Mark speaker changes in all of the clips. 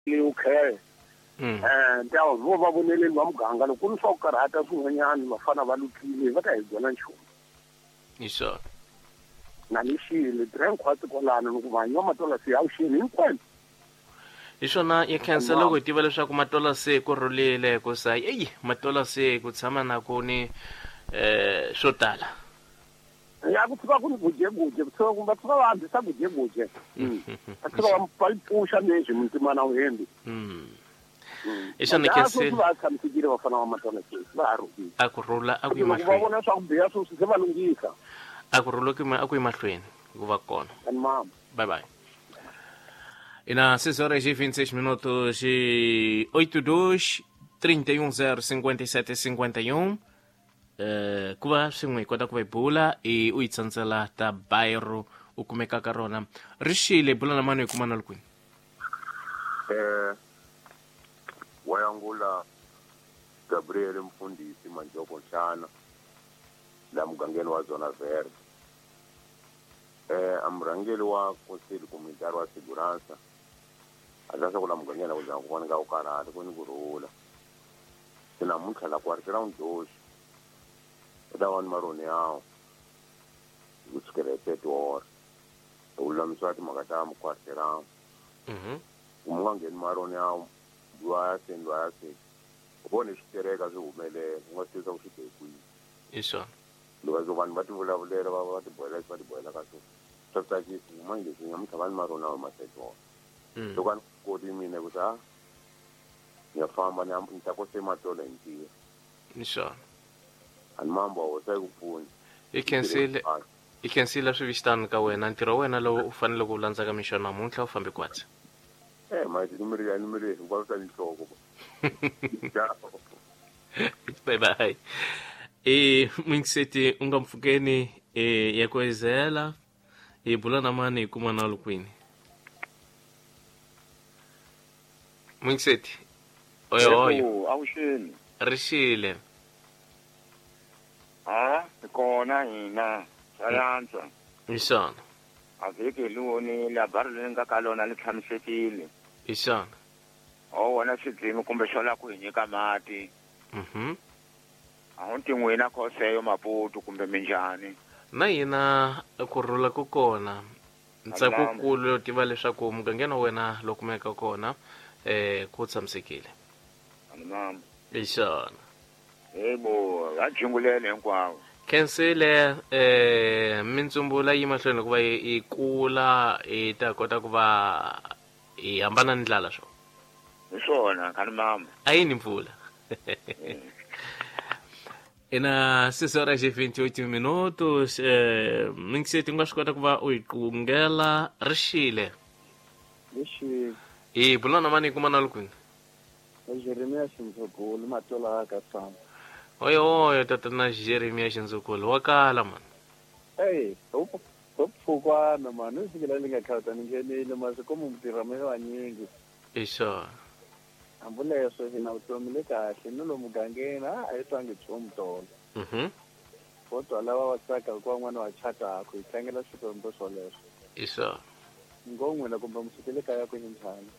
Speaker 1: Okay. Ntawo vo va voneleni va muganga loko ku ri swa ku karhata swin'wanyana vafana va lukhile va ta hi byela nchumu.
Speaker 2: Hi swona.
Speaker 1: Na ni xile tirha hinkwaswo kwalano loko vanhu va matola se avuxeni hinkwenu.
Speaker 2: Hi swona ya khensa loko hi tiva leswaku matola se ku rhulile ku sa eyi matola se ku tshama na ku ni swo tala.
Speaker 1: Ya ku tshuka ku ni gujeguje ku tshuka va tshuka va andzisa gujeguje. Va tshuka va yi pfuxa lexi muntimana wu hembi.
Speaker 2: Hi swona khensile.
Speaker 1: Va tshamisekile vafana va matola se va ha rhulile.
Speaker 2: A ku rhula a ku yi
Speaker 1: Loko va
Speaker 2: mahlweni.
Speaker 1: vona swa ku biha sweswi se va lunghisa.
Speaker 2: A ku rhula a ku yi mahlweni ku va kona.
Speaker 1: And mama.
Speaker 2: Bye bye. E na 6 horas e 26 minutos e 82 31 0 57 51 ku va swin'we hi kota ku va hi bula i u yi tsandzela ta bayro u kumeka ka rona ri xile bula na mani hi kuma na kwini.
Speaker 3: Wayangula Gabriel Mfundisi Manjoko Nhlana la mugangeni wa Zona Verde. Amurhangeri wa Conselho Comunitário wa Segurança a swa ku la mugangeni ku za ku voneka ku karhata ku ni ku rhula. Se namuntlha la ku round doxi u ta va ni maroni yawo ku sukela hi 30 hours ku lulamisiwa timhaka ta mukwariteramo. Ku mu nga ngheni maroni yawo lwa ya seni lwa ya seni u vone switereka swi humelela u nga swi tivisa ku swi be kwihi.
Speaker 2: Hi swona.
Speaker 3: Loko vanhu va ti vulavulela va va ti bohela va ti bohela ka swona swa tsakisa ku manje leswi namuntlha va ni maroni yawo ma 30 hours. Loko a ni koti mina ku ta ni ya famba ni ni ta kose matola hi ntirho.
Speaker 2: Hi swona.
Speaker 3: A ni mambo wa hosa yi ku pfuni.
Speaker 2: I khensile. I khensile swi vixitani ka wena ntirho wa wena lowu u faneleke ku landza ka mixo namuntlha u fambe kwatsi.
Speaker 3: Manje numero hinkwaswo swa nhloko.
Speaker 2: Bye bye. Mingiseti u nga mpfukeni ya ku ezela hi bula na mani hi kuma na lukwini. Mingiseti. Oyo oyo.
Speaker 4: Avuxeni.
Speaker 2: Rixile.
Speaker 4: Ha, kona hina. Sayansa.
Speaker 2: Hi swona.
Speaker 4: A vhiki hi vonile a bari leri nga ka lona li tshamisekile.
Speaker 2: Hi swona.
Speaker 4: O wona xidzimi kumbe xo lava ku hi nyika mati. A wu ti n'wina khoseyo Maputo kumbe minjhani.
Speaker 2: Na hina ku rhula ku kona. Ntsako kulu yo tiva leswaku mugangeni wa wena lowu kumeka kona ku tshamisekile.
Speaker 4: Mama.
Speaker 2: Hi swona.
Speaker 4: Yebo, va jingulele hinkwavo.
Speaker 2: Khensile mintsumbula yi mahlweni ku va yi kula yi ta kota ku va yi hambana ni ndlala swo.
Speaker 4: Hi swona khani mama.
Speaker 2: A yi ni mpfula. Ina 6 horas e 28 minutos mingiseti u nga swi kota ku va u yi qungela rixile.
Speaker 5: Lexi.
Speaker 2: Bula na mani kuma na lukwini.
Speaker 5: Jeremia Xindzukulu matola ka tsana.
Speaker 2: Oyo oyo tatana Jeremia Xindzukulu wa kala man.
Speaker 5: Hey, upfukwana man, u fikela li nga khata ni nghenile mase komu mutirha me vanyingi.
Speaker 2: Hi swona.
Speaker 5: Hambi leswo hina vutomi le kahle ni lomu mugangeni a hi twangi nchumu tolo. Kodwa lava va tsaka hikuva n'wana wa chataka hi tlangela swikwembu swoleswo.
Speaker 2: Hi swona.
Speaker 5: Ngo n'wina kumbe mi sukele kaya ku njhani?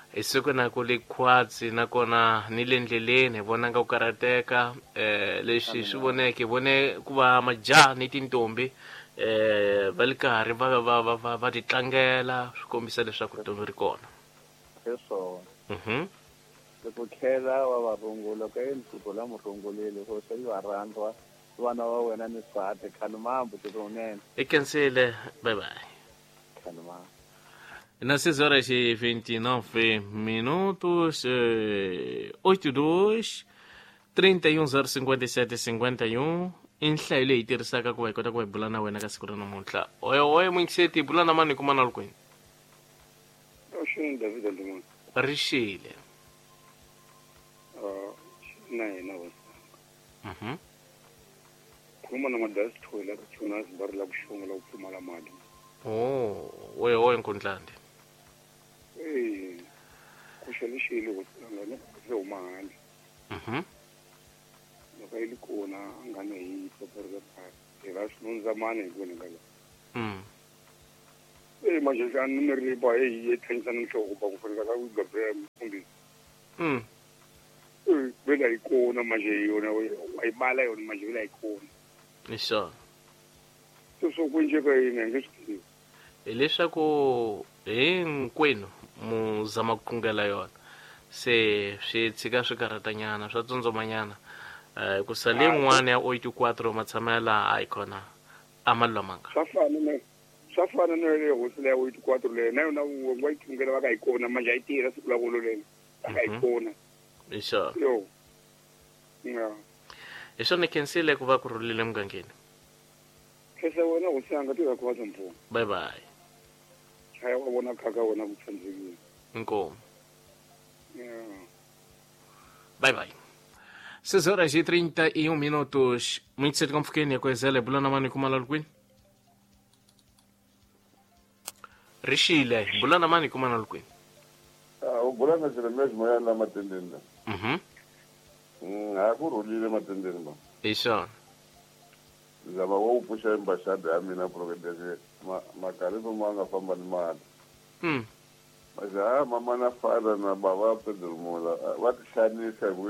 Speaker 2: Hi siku na ku le khwatsi nakona ni le ndleleni hi vona nga ku karhateka leswi swi voneke hi vone ku va majaha ni tintombi va le karhi va ti tlangela swi kombisa leswaku vutomi ri kona.
Speaker 5: Hi swona. Loko khela wa va rungula ka yini siku la murungulile ko se va rhandza vana va wena ni swati khani mambo tinene.
Speaker 2: I khensile. Bye bye.
Speaker 5: Khani mambo.
Speaker 2: Na 6 horas e 29 minutos, 82 31 057 51 i nhlayo leyi tirhisaka ku va hi kota ku va hi bula na wena ka siku ra namuntlha. Oyo oyo Mingiseti bula na mani kuma na lukwini.
Speaker 6: Oxini David Ndimana.
Speaker 2: Rixile.
Speaker 6: Na hina hosi. Khuluma na madasi thola ka chona zibari la kushonga la kupfumala mali.
Speaker 2: Oh, oyo oyo Nkundlande.
Speaker 6: Kuxelixile hosi se huma handle. Loko yi li kona a nga ni hi tsoporisa phasi. Hi va swinondzamani hi vona nga la. Se manje xa numeri ba e tlhanyisana nhloko ba ku fanela ka Gabriel mfundhisi. Vela yi kona manje yona wa yi bala yona manje vela yi kona.
Speaker 2: Hi swona.
Speaker 6: Sweswo ku endleka yini a nge swi tivi.
Speaker 2: Hileswaku hinkwenu mu zama ku khongela yona se swi tshika swi karhatanyana swa tsundzumanyana hikusa leyin'wana ya 84 matshamela a yi kona a ma lulamanga.
Speaker 6: Swa fana na le hosi leya 84 leyo na yona wa yi khongela va ka yi kona manje a yi tirha siku la kolo lelo va ka yi kona.
Speaker 2: Hi swona.
Speaker 6: Yo. Ya.
Speaker 2: Hi swona khensile ku va ku rhulile mugangeni.
Speaker 6: Khensa wena hosi yanga tirha ku va mpfuno.
Speaker 2: Bye bye.
Speaker 6: Chaya wa vona khaka wena ku tsandzekile.
Speaker 2: Inkomu.
Speaker 6: Yeah.
Speaker 2: Bye bye. 6 horas e 31 minutos. Muito cedo com Fukeni, com Zé Bulana mani kumala lukwini. Rishile, Bulana mani kumala lukwini.
Speaker 7: Ah, o Bulana sele mesmo ya la matendeni. Akurulile matendeni ba.
Speaker 2: Isho.
Speaker 7: Zama wa upusha embassada ya mina provedeze makaribu manga famba ni mali. Mas mama na fala na baba Pedro Mola, va tixanisa ku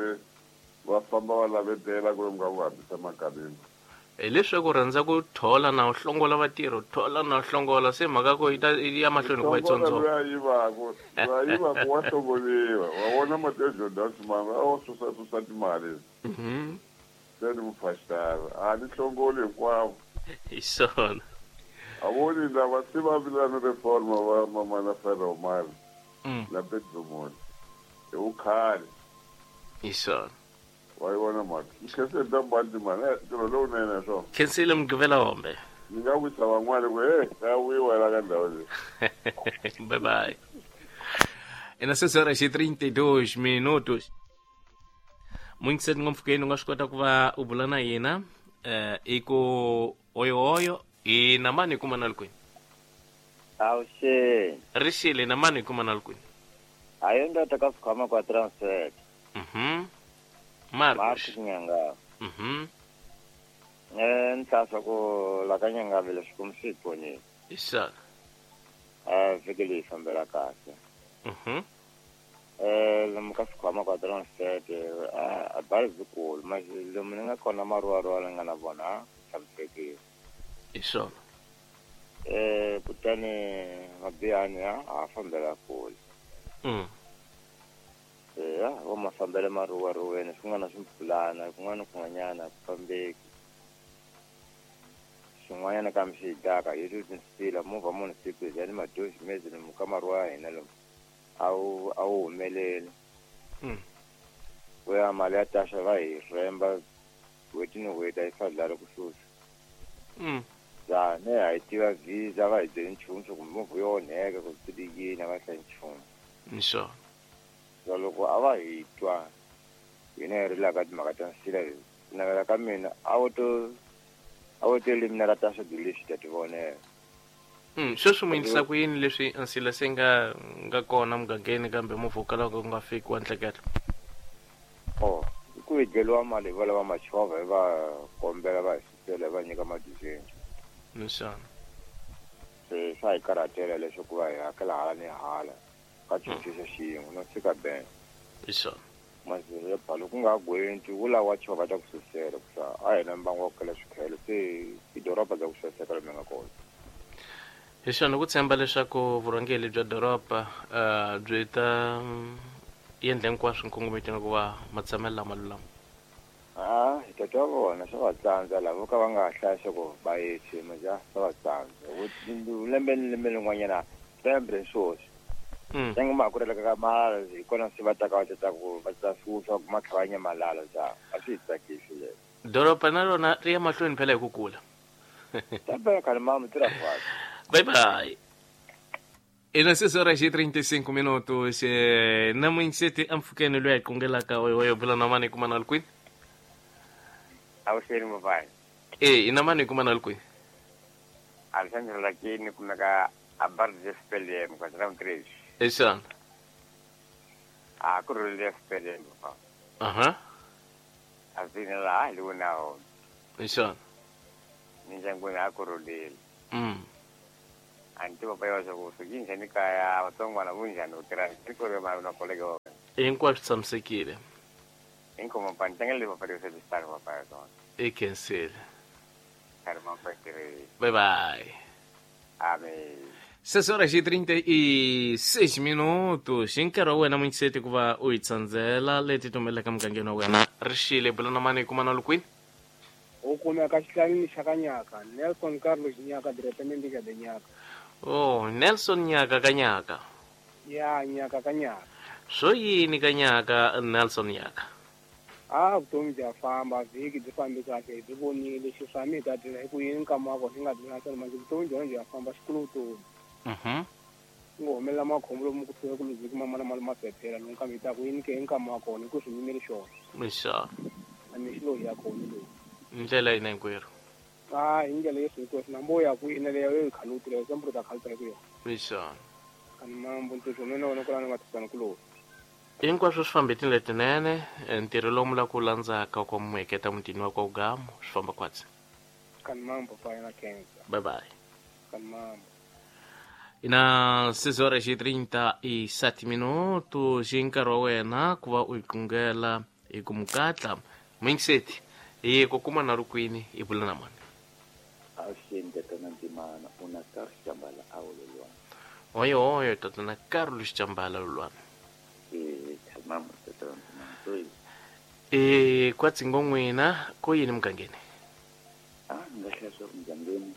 Speaker 7: va famba va lavetela ku nga ku hambisa makaribu.
Speaker 2: Hileswaku rhandza ku thola na u hlongola vatirhi, thola na u hlongola se mhaka ku yi ta ya mahlweni ku va yi tsondzona.
Speaker 7: Loyi a yivaku, loyi a yivaku wa hlongoliwa. Wa vona Mateo Jordan Simanga a wo susa timali. Se ni mufasitara a ni hlongoli hinkwavo.
Speaker 2: Hi swona.
Speaker 7: A voni lava se va vilana reforma va mama na Fela Omar na Pedro Mola. Hi vukhale.
Speaker 2: Hi swona.
Speaker 7: Wa yi vona mhaka. Khensile ta bandi mani ntirho lowunene swona.
Speaker 2: Khensile Mugqivela hombe.
Speaker 7: Ni nga wisa van'wana ku he ya wiwa la ka ndhawu leyi.
Speaker 2: Bye bye. E na 6 horas e 32 minutos. Muito cedo ngopfu u nga swi kota ku va u bula na yena i ku oyo i na mani kuma na kwini.
Speaker 8: Awuxeni.
Speaker 2: Rixile na mani kuma na kwini.
Speaker 8: Hayi ndoda ka swikhwama kwa transfer.
Speaker 2: Marcos
Speaker 8: Nyanga. Ntlhasa ku la ka Nyanga vele swikwembu swi hi pfunile.
Speaker 2: Isana.
Speaker 8: Vhiki leyi fambela kahle. Lomu ka swikhwama kwa transfer a bari zikulu manje lomu ni nga kona maruwaruwa ni nga na vona tshamisekile.
Speaker 2: Hi swona.
Speaker 8: Kutani mabiyani a fambela kule. Wa mafambele maruwaruweni swin'wana swi mpfulana kun'wana kun'wanyana ku fambeki swin'wanyana kambe swi hi daka hi ri tinsila movha munhu siku hi ni madozi mezi lomu ka maruwa ya hina lomu a wu humeleli. Ku ya mali ya taxa va hi rhemba n'hweti ni n'hweti a yi fadlali ku susa. Ne a hi tiva visa va hi byeli nchumu swa ku movha yo onheka ku swi yini a va hlayi nchumu.
Speaker 2: Hi swona.
Speaker 8: Loko a va hi twa hina hi rilaka timhaka ta nsila leti ku navela ka mina a wo to eliminata ta swilo leswi ta ti vonela.
Speaker 2: Sweswi mu endlisa ku yini leswi nsila se nga kona mugangeni kambe movha wo kala ku nga fiki wa nhlekelo?
Speaker 8: I ku hi dyeriwa mali hi va lava machovha hi va kombela va hi susela hi va nyika madizeni.
Speaker 2: Hi swona.
Speaker 8: Se swa hi karhatela leswaku va hi hakela hala ni hala. Ka cincisisa xiyimo no fika ben.
Speaker 2: Hi swona.
Speaker 8: Mazelo loko ku nga gwenti wu lawa chovha ta ku susela ku sa a hina mbangu wa ku kala swikhelo se i doroba bya ku saseka lomu nga kona.
Speaker 2: Hi swona ku tshemba leswaku vurhangeri bya doroba byi ta endla hinkwaswo nkongometweni ku va matshamelo lama lulama.
Speaker 8: Hi ta twa vona swa va tsandza lava vo ka va nga hlaya ku va yethe maja swa va tsandza. Lembe ni lembe lin'wanyana lembe swoswi. Ntango ma ku releka ka mali hi kona se va taka va tata ku va ta susa ku ma kha va nyamalala ja a swi tsakisi leswi.
Speaker 2: Doroba na rona ri ya mahlweni phela hi ku kula.
Speaker 8: Tambela khale mama tirha kwala.
Speaker 2: Bye bye. E na 6 horas e 35 minutos na muinsete amfukeni loyi a qongelaka oyo bula na mani kuma na kwini.
Speaker 8: Awuxeni mobile.
Speaker 2: Ina mani kuma na kwini.
Speaker 8: Alexandre Lakini kumeka a bar de SPLM kwa round 3.
Speaker 2: Isana.
Speaker 8: A ku rhulile SPLM pa. Azina la luna o.
Speaker 2: Isana.
Speaker 8: Minjangwini a ku rhulile. A ni tivi papa swa ku swi njhani kaya vatsongwana vunjhani u tirha tiko ri ma na koleke
Speaker 2: Hinkwaswo tshamisekile.
Speaker 8: Inkomo pa ntangele papa ri se star papa ya tona.
Speaker 2: I khensile.
Speaker 8: Kari ma pa tirhi.
Speaker 2: Bye bye.
Speaker 8: Amen.
Speaker 2: 6 horas e 36 minutos. Hi nkarhi wa wena munyiseti ku va u hi tsandzela leti tumbeleka mugangeni wa wena ri xile bula na mani hi kuma na lukwini.
Speaker 5: U kumeka xihlanini xa ka Nyaka, Nelson Carlos Nyaka, diretamende de Nyaka.
Speaker 2: Oh, Nelson Nyaka ka Nyaka.
Speaker 5: Ya, Nyaka ka Nyaka.
Speaker 2: Swo yini ka Nyaka, Nelson Nyaka?
Speaker 5: A vutomi bya famba, vhiki byi fambi kahle, hi byi vonile xiswami hi ta dlina hi ku yini nkama wa kona xi nga dlina swona manje vutomi byona bya famba xikulu vutomi. Ku ngo humelela makhombo lomu ku fika ku luzeki mamana mali maphephela lomu kambe hi ta ku yini ke hi nkama wa kona hi ku swi yimeli xona.
Speaker 2: Mixana.
Speaker 5: A ni xilo hi ya kona lowu.
Speaker 2: Ndlela yina hinkwerhu.
Speaker 5: A hi ndlela yesu hinkweswo na mbo ya ku ina leyo yo yi khalutile yo sempro ta khaluta hi ku yona.
Speaker 2: Mixana.
Speaker 5: Ani mambo ntirho mina wena ku lana nga tisana ku lowu.
Speaker 2: Hinkwaswo swi fambe tindlela tinene, ntirho lowu mu lava ku landzaka kwa muheketa mutini wa kwa Ugamu swi famba kwatsi.
Speaker 5: Kani mambo pa yena cancer.
Speaker 2: Bye bye.
Speaker 5: Kani mambo.
Speaker 2: Ina 6 horas e 37 minutos hi nkarhi wa wena ku va u yi kungela hi ku mukatla mingiseti hi ku kuma na rukwini hi bula na mani.
Speaker 8: Avuxeni tatana Ntimana, u na Carlos Chambala a Lulwana.
Speaker 2: Oyo oyo tatana Carlos Chambala Lulwana.
Speaker 8: Mama tatana Ntimana so
Speaker 2: kwatsi ngomwena ko yini mugangeni?
Speaker 8: A nga hlaya swa mugangeni.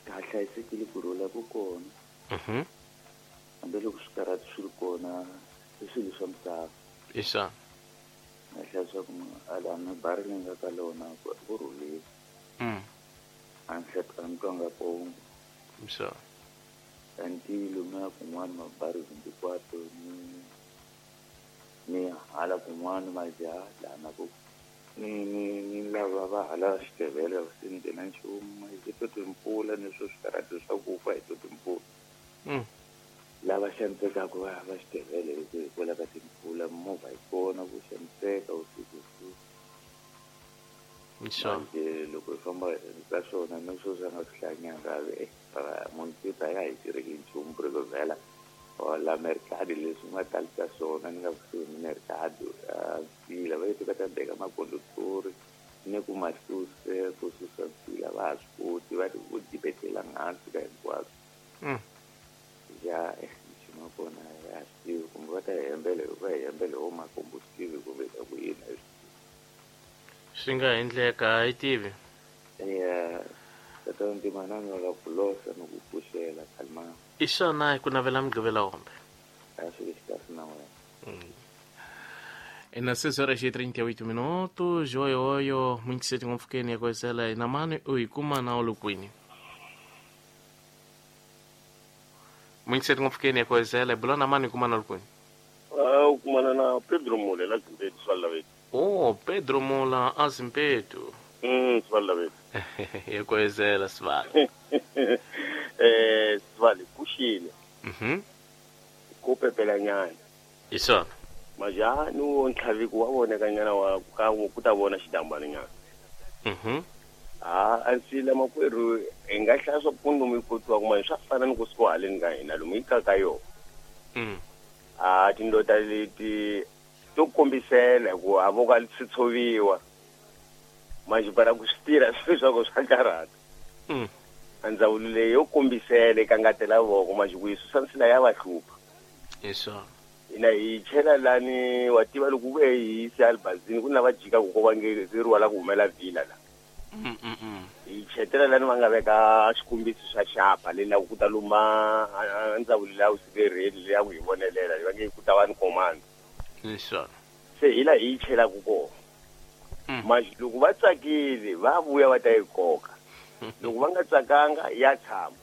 Speaker 8: Ka hlayisekile ku rhula ku kona. Hambiloko swikarhati swi ri kona i swilo swa misava.
Speaker 2: Isa.
Speaker 8: Nga hlaya swa ku alana bari leyi nga ka lona ku rhulile. A ni hlaya a ni twanga pongo.
Speaker 2: Isa.
Speaker 8: Kanti lomuya kun'wana mabari hinkwato ni hala kun'wana majaha lana ku ni lava va hala xitevele swi ndzi na nchumu hi to timpfula ni swo swikarhati swa ku fa hi to timpfula. Lava xanisekaka va va xitevele hi ku hikwalaho ka timpfula movha yi kona ku xaniseka vusiku. Manje loko hi famba ka swona ni swo swi nga swi hlanyanga munhu ta ya hi tirheki nchumu ku ri ku vhela la mercado leswi nga talisa swona ni nga kusuhi ni mercado nsila va yeti va ta beka makondotori ni ku masuse ku susa nsila va ha swi koti va ti ku dibetela hansi ka hinkwaswo. Ya nchumu wa kona ya swi tivi kumbe va ta hembele va hembele wo makombo swi tivi kumbe ta ku yini a swi tivi.
Speaker 2: Swi nga endleka a yi tivi.
Speaker 8: Ya tatana Ntimana ni lava ku losa ni ku pfuxela khalima.
Speaker 2: I swona hi ku navela mugqivela wombe.
Speaker 8: A swi kahle na wena.
Speaker 2: Ina 6 horas e 38 minutos oyo oyo munyiseti ngopfukeni ya kwesela ina mani u yi kuma na olukwini. Munyiseti ngopfukeni ya kwesela bula na mani kuma na olukwini.
Speaker 3: U kumana na Pedro Mula la Zimpetu swalla.
Speaker 2: Oh, Pedro Mula a Zimpetu.
Speaker 3: Swalla.
Speaker 2: Ya kwesela swalla.
Speaker 3: Swali kushile. Ko pepela nyana.
Speaker 2: Isona.
Speaker 3: Maja ni wo ntlhaviko wa voneka nyana wa ka ku ta vona xidambana nyana. A ansila makwerhu hi nga hlaya swa ku lomu yi kotiwa kuma swa fana ni ku suka haleni ka hina lomu yi kaka yo. A tindota leti to kombisela ku a vo ka swi tshoviwa. Manje bara ku swi tirha swilo swa ku swa karhata. Ndzawulo leyi yo kombisela eka ngatela voko manje ku yi susa nsila ya va hlupha.
Speaker 2: Isona.
Speaker 3: Ina hi chela lani wa tiva loko ku ve hi se albazini ku na va jika ku ko va nge ri wala ku humela vila la. Hi chetela lani va nga veka xikombiso xa xapa le la ku ta luma ndzawulo leyi a wu siverheli leyi a ku hi vonelela va nge ku ta va ni command.
Speaker 2: Isona.
Speaker 3: Se hi la hi chelaka kona. Manje loko va tsakile va vuya va ta yi koka. Loko va nga tsakanga ya tshama.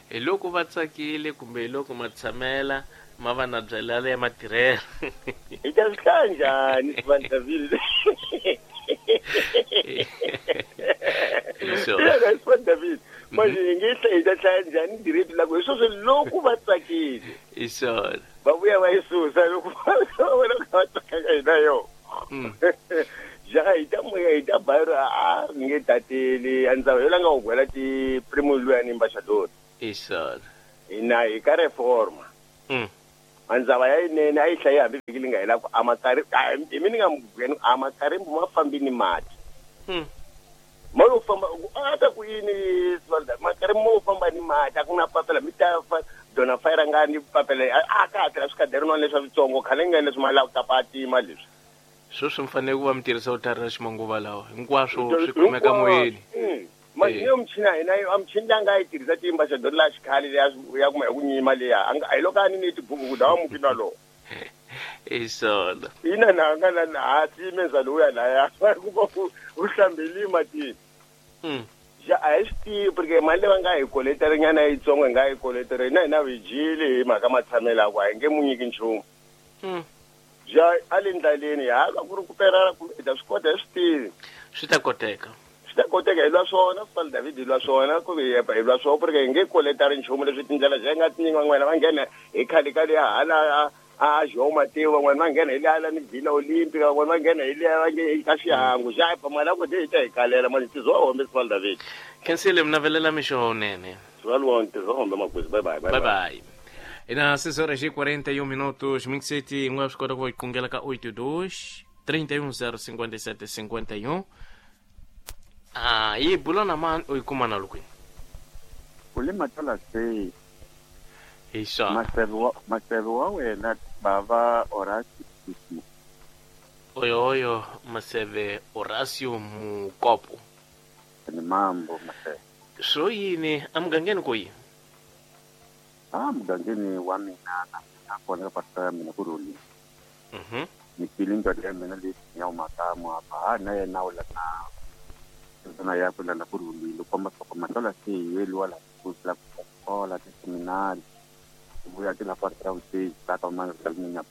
Speaker 2: Hi loko va tsakile kumbe hi loko ma tshamela ma va na byela ya matirhelo.
Speaker 3: Hi ta swi hlaya njhani Sibandavile? Sibandavile. Manje hi nge hi ta hlaya njhani direct la ku hi sweswo loko va tsakile.
Speaker 2: Hi swona.
Speaker 3: Va vuya va yi susa loko va vona ku va tsakanga hi na yona. Ja hi ta moya hi ta bayiro a nge tateli a ndzawulo la nga u gwela ti primo luya ni ambassador.
Speaker 2: Isona.
Speaker 3: Ina hi ka reforma. Mandzava ya yinene a yi hlayi hambi vhiki li nga hela ku amakari hi mi ni nga mugweni amakarimbu ma fambi ni mati. Mo yo famba a ta ku yini makarimbu mo famba ni mati a ku na papela mi ta dona fayira nga ni papela a ka ha tirha swikaderinwana leswa switsongo khale nga leswi mali a ku tapa tima leswi.
Speaker 2: Sweswi mi fanele ku va mi tirhisa vutlhari ra ximanguva lawa hinkwaswo swi kumeka moyeni.
Speaker 3: Manje michini ya hina a michini leyi a nga yi tirhisa tiambassador la xikhale leya ya kuma hi ku nyima leya a hi loko a ni ni tibuku ku dawa muki na lowo.
Speaker 2: Isona.
Speaker 3: Ina na nga na ha timenza lowuya laya ku va u hlambeli matini. Ja a hi swi tivi porque mali leyi va nga hi koleterinyana yitsongo hi nga yi koleteri hina hina hi dyile hi mhaka matshamelo ya ku a hi nge mu nyiki nchumu. Ja a le ndlaleni ha ku ri ku perela kumbe hi ta swi kota hi swi tivi.
Speaker 2: Swi ta koteka.
Speaker 3: Swi ta koteka hi lwa swona Sifali David hi lwa swona ku hi hi lwa swona porque hi nge koletari nchumu leswi tindlela bya nga tinyingi van'wana va nghena hi khale ka leya hala a João Mateu van'wana va nghena hi le hala ni Vila Olímpica van'wana va nghena hi le va nge ka xihangu xa pa mali ya ku hi ta hi kalela manje tizo hombe Sifali David.
Speaker 2: Khensile mi navelela mixo lowunene.
Speaker 3: Sifali wona tizo hombe makwezi bye bye
Speaker 2: bye bye. Ina 6:41 minutos Mix City nga swi kota ku va qungela ka 82 31 057 51. Ah, yi bula na mani u yi kuma na lukwini?
Speaker 9: U le Matola se.
Speaker 2: Hi swona.
Speaker 9: Maseve wa wena bava Horacio Mukopo.
Speaker 2: Oyo oyo Maseve Horacio Mukopo.
Speaker 9: Ni mambo Maseve.
Speaker 2: Swo yini emugangeni ku yini?
Speaker 9: A mugangeni wa mina na mina kona ka pastor ya mina ku rhulile. Ni twile ndzwalo ya mina leyi ya humaka muhava na yena u la na ndzuna ya ku lana ku rhulile komba swa ku Matola se hi yeliwa la ku la ku kola tiseminari vuya ti la kwa ra stage la ka mana ra mina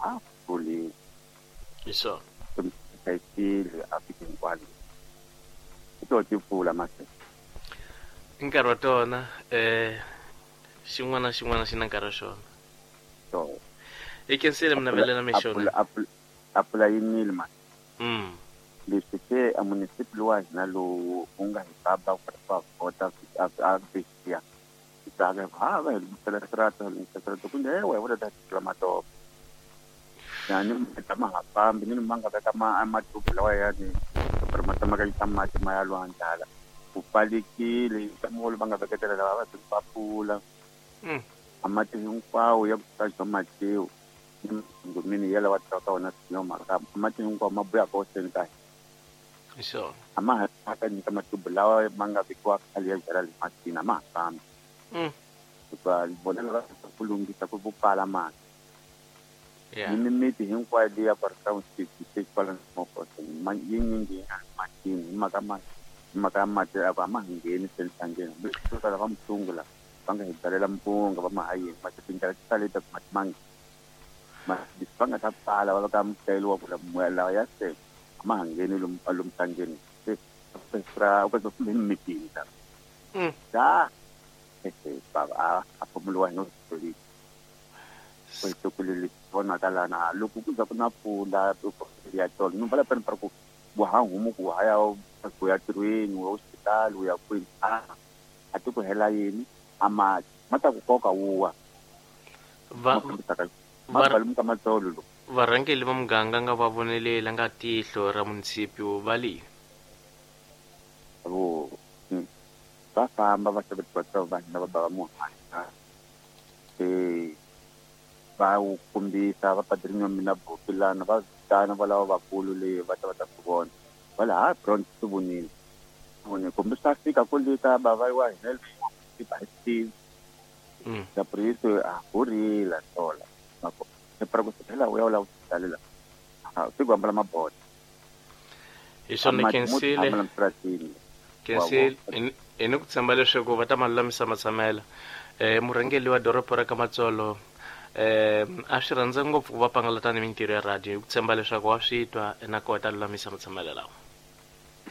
Speaker 9: a rhulile.
Speaker 2: Hi swona.
Speaker 9: Hlayisekile a fike hinkwalo. I to ti pfula mase.
Speaker 2: I nkarhi wa tona xin'wana na xin'wana xi na nkarhi wa xona.
Speaker 9: So.
Speaker 2: I khensile mi navelela mixo.
Speaker 9: Apula yimile mase. Leswi se a municipal wa hina lowu u nga hi baba ku ri va vhota a vhisiya. Tsaka ha va hi lunghisela sirata lunghisela sirata ku nde wa vona ta tla matopo. Yani ma ha fambi ni ma nga veka ma matupu lawa ya ni ri ma tsamaka yisa mati ma ya lwandle hala. Ku pfalekile molo va nga veketela lava va va pfula. A mati hinkwawo ya ku ta Mateu ni ngomini ya lawa ta ka wona no maka mati hinkwawo ma buya ka oseni ka.
Speaker 2: Sure.
Speaker 9: A ma ha ka nyika matubu lawa ma nga vekiwa khale ya byala le matini a ma ha fambi. Hikuva vona lava ku lunghisa ku pfala mati.
Speaker 2: Yeah.
Speaker 9: Ni mimiti hinkwayo leyi ya Parktown City se kwala Mokoteng yi nyingi yi nga matini hi mhaka mati hi mhaka ya mati a ku a ma ngheni se nhlangeni hambi swo tala va mutsungu la va nga hi byalela mpunga va ma ha yini mati tindlela ti sale ta ku mati ma mati va nga ta pfala va veka mutayelo wa ku moya lawa ya se a ma ha ngheni lomu lomu nhlangeni se ra ku kumbe mimitini ta da baba a pfumeliwa hi no swi ku vonaka lana loko ku za ku na mpfula ya tolo ni vala peni ku wa ha humu ku ha ya ku ya tirhweni wa hospital u ya kwini a ti ku hela yini a mati ma ta ku koka wuwa
Speaker 2: va
Speaker 9: ma matsolo lo
Speaker 2: varhangeli va muganga nga va vonelela nga tihlo ra municipio va le
Speaker 9: vo va famba va xava va hina va ba va muhanya va wu kombisa va padrinho mina bokilana va vitana va lava vakulu leyi va ta va ta swi vona va la ha bronze swi vonile vone kumbe swa fika ku le ka bava wa hina ba hi tivi ya priso a horila tola mako se para ku phela u ya u lava ku talela a swi ku ambala mabota
Speaker 2: hi swona khensile khensile hi ni ku tshemba leswaku va ta ma lulamisa matshamela murhangeri wa doroba ra ka Matsolo a swi rhandza ngopfu ku va pangalata ni mintirho ya radio hi ku tshemba leswaku wa swi twa na kona ta lulamisa matshamelo lawa.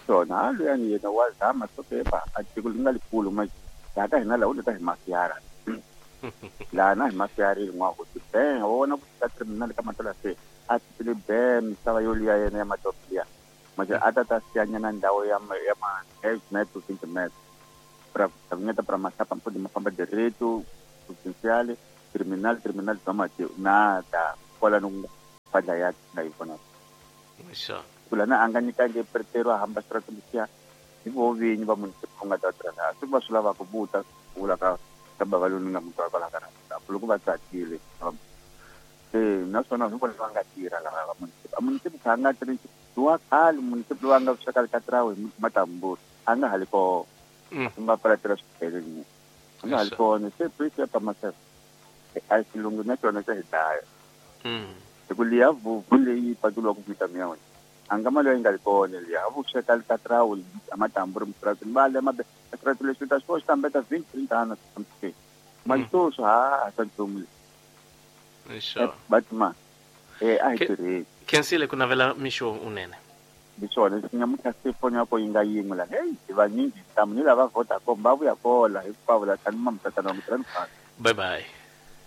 Speaker 9: Swona ha luyani yena wa zama sokepa a tiko li nga likulu ma laha ka hina laha u leta hi mafiyara laha na hi mafiyari rin'wana ku be wa vona ku fika terminal ka Matola se a titile be misava yo liya yena ya matopo liya manje a ta ta siyanyana ndhawu ya ma ya ma 10 meters 20 meters ra Gabinete para mahlapa mpodi mafamba direito provincial criminal João nada kwala no fadla ya na yona
Speaker 2: sure
Speaker 9: kula na anga nyikange pretero hamba strategia hi vo vinyi va municipal nga ta tirha swi va swi lava ku buta vula ka bava loyi nga mutwa kwala ka loko va tsakile naswona hi vona va nga tirha lava va municipal municipal a nga tirhi wa khale municipal wa nga sweka ka trawe matamburu a nga hali ko nga palatela swibedhlele a nga hali kona se prisi ya pamasela a xilungu na xona xa hi dlaya hi ku liya vuvu leyi pakuliwa ku vita miya wena a nga mali yi nga ri kona liya a vu sweka ka trawe a matamburu mutratini va le mabe trati leswi ta swo xitambeta 20 30 something mali swo ha sa nchumu
Speaker 2: sure
Speaker 9: but ma a hi tirheni
Speaker 2: khensile ku navela mixo unene
Speaker 9: hiswona leswi nyamuntlha se foni ya ko yi nga yin'we la heyi hi vanyingi ntamu ni lava Vodacom va vuya kola hinkwavo la tani mamutatana wa mutirhani
Speaker 2: bye bye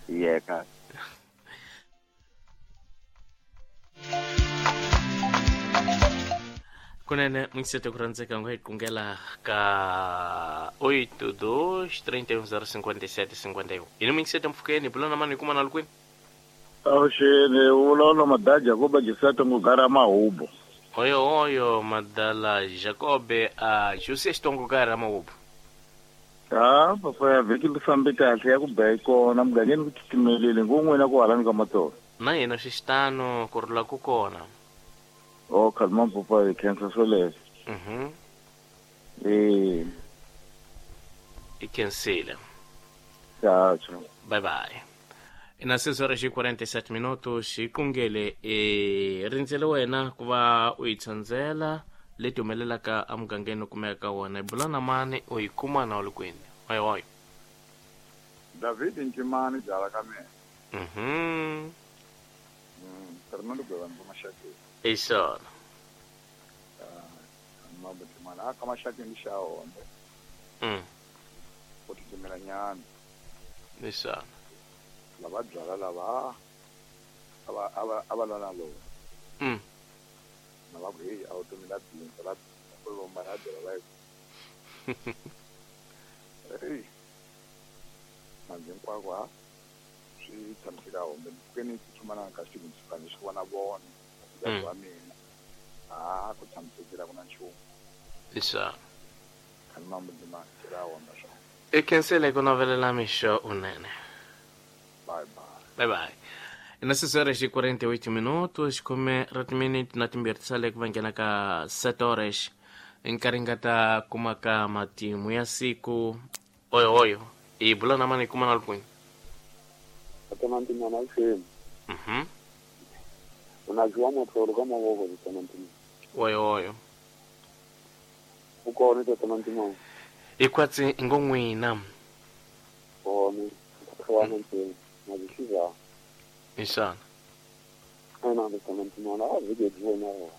Speaker 9: yeka
Speaker 2: kunene mingisete ku rhandzeka ngo hi kungela ka 82 31 057 51 yini mingisete mpfukeni bula na mani hi kuma na lukwini
Speaker 7: avuxeni vulavula madala Jacobe Josete Ngugara Mahubo
Speaker 2: oyo oyo madala Jacobe a José Ngugara Mahubo
Speaker 7: ha papa ya vhiki li fambe kahle ya ku ba yi kona mugangeni ku titimelile ngo n'wina ku halani ka matolo
Speaker 2: na hina swi xitano ku rhula ku kona
Speaker 7: o khalima papa hi khensa swoleswo
Speaker 2: i khensile
Speaker 7: ciao ciao
Speaker 2: bye bye ina 6 horas e 47 minutos hi kungele rindzele wena ku va u yi tsandzela leti humelelaka emugangeni u kumeka ka wona hi bula na mani u yi kuma na u li kwini oyo oyo
Speaker 6: David Ntimani byala ka mina Fernando Gwevani ka Maxakeni
Speaker 2: hi swona
Speaker 6: Mambo Ntimani a ka Maxakeni xa hombe ku titimela nyana
Speaker 2: hi swona
Speaker 6: lava byala lava a va lwa na lona na va ku heyi a wu tomi la bindzu la ku lomba la byala va yi manzi hinkwako ha swi tshamiseka hombe mpfukeni tsutsuma na ka xivindzi xi vona vona wa mina a ku tshamisekile ku na nchumu
Speaker 2: hi swona
Speaker 6: khani mambo Ntimani xi ra homba swona
Speaker 2: i khensile ku navelela mixo unene
Speaker 6: bye bye
Speaker 2: bye bye ina 6 horas e 48 minutos khume ra timiniti na timbirhi ti sale ku va nghena ka 7 horas nkarhi nga ta kuma ka matimu ya siku oyo oyo hi bula na mani hi kuma na lukwini
Speaker 6: Ntimani avuxeni unajua matlolo ka mavoko tata Ntimani
Speaker 2: oyo oyo
Speaker 6: u kona tata Ntimani
Speaker 2: hi kwatsi ngo n'wina
Speaker 6: kona wana ntsena na zwishiza
Speaker 2: hi swona
Speaker 6: ena tata Ntimani a vhiki byi vona rona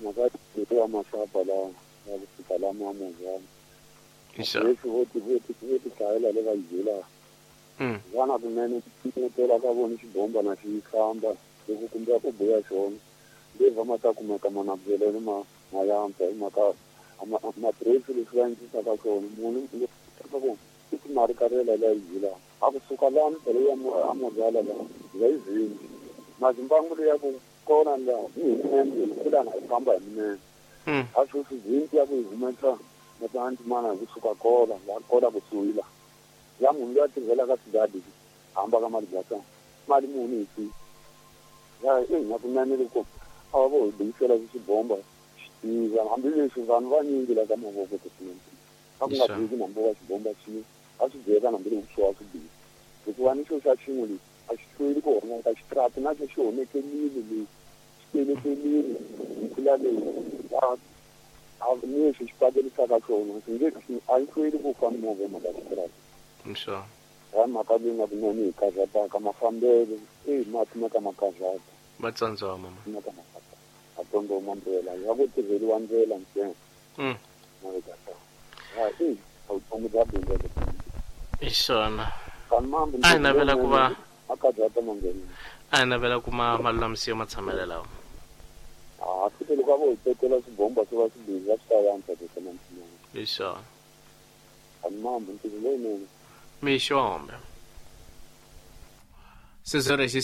Speaker 6: mhaka ya mahlapa la ya ku fika la mamuzana
Speaker 2: hi swona
Speaker 6: leswi vo ti hlayela le va yi byelaka vana kunene tela ka vona xibomba na xi famba loko kumbe ku buya xona leva ma ta kumeka mana byeleni ma yantswa hi mhaka matirhisi leswi va endlisaka swona munhu ka ku i timali ka rela leyi byelaka a kusuka lani phela ya amuzala la ya yi vingi mazimbangu leya ku kona la hi minene kulana hi famba hi minene a sweswi vingi ya ku yi humesa na ta Ntimani hi kusuka kola la kola kusuhi la ya munhu loyi a tirhelaka swigadi hamba ka mali bya mali muni hi swi ya na kunene loko a va vo hi buyisela xibomba xi tiva hambileswi vanhu vanyingi la ka mavoko tinene a ku nga biki nambu wa xibomba xi a swi byeka nambi loko swi wa swi biki hikuva ni xo xa xin'we lexi a xi hlweli ku honeka xitrati na xo xi honekelile lexi xi telekelile hi leyi a lexi xi pakelisaka xona xi nge a yi hlweli ku fa movha mhaka xitrati
Speaker 2: sure
Speaker 6: ha mhaka leyi nga kunene hi karhataka mafambelo mati ma ka ma karhata
Speaker 2: va tsandziwa mama
Speaker 6: ma ka ma karhata a tondoma ndlela ya ku tirheliwa ndlela ntsena ha vutomi bya bindzu
Speaker 2: hi swona a hi navela ku va a hi navela ku ma malulamisiwa matshamelo lawa
Speaker 6: a swi loko a vo hi tekela swibomba swi va swi bizi a swi ta yantswa tata Ntimani
Speaker 2: Hi swona.
Speaker 6: A ni mambo ntirho lowunene.
Speaker 2: Mixombe. 6 horas e